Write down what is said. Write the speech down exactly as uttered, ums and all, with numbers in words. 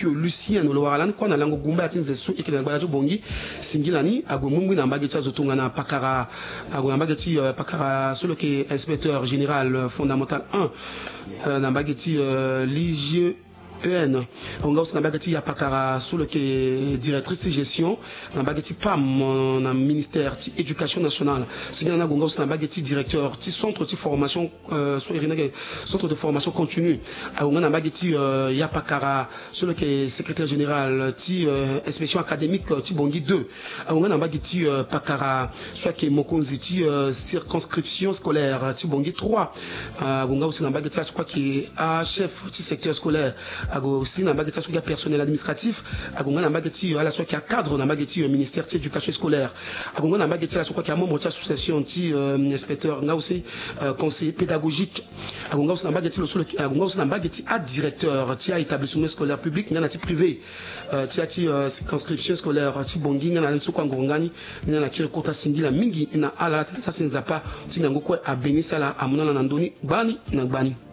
Lucien, lo wara lani kue na lango gumba ya ti nze so eke na gbala ti Bongi. Singila ni ague mungbi na mbage ti azo tongana pakara, ague na mbage ti pakara so lo yeke inspecteur général fondamental un na mbage ti l'I G E N. Ague nga aussi na mbage ti ya pakara so lo yeke directrice ti gestion na mbage ti pam na ministère ti éducation nationale. Singila ni ague nga aussi na mbage ti directeur ti centre ti formation, so iri ni ayeke centre de formation continue. Ague nga na mbage ti ya pakara so lo yeke secrétaire général ti inspection académique ti Bongi deux. Ague nga na mbage ti pakara so ayeke mokonzi ti circonscription scolaire ti Bongi trois. Ague nga aussi na mbage ti ala so kue ayeke achef ti secteur scolaire. Ague aussi na mbage ti ala so kue ayeke apersonnel administratif. Ague nga na mbage ti ala so ayeke acadre na mbage ti ministère ti éducation scolaire. Ague nga na mbage ti ala so kue ayeke amembre ti association ti inspecteur nga aussi conseiller pédagogique. Ague nga aussi na mbage ti lo so lo yeke, ague nga aussi na mbage ti adirecteur ti aétablissement scolaire public nga na ti privé ti ya ti circonscription scolaire ti Bongi nga na ala ni so kue anguru nga ni. Ni na kiri kota singila mingi na ala ala tene sasi Nzapa ti ngangu kue abeni sala amu na ala na ndö ni gbani na gbani.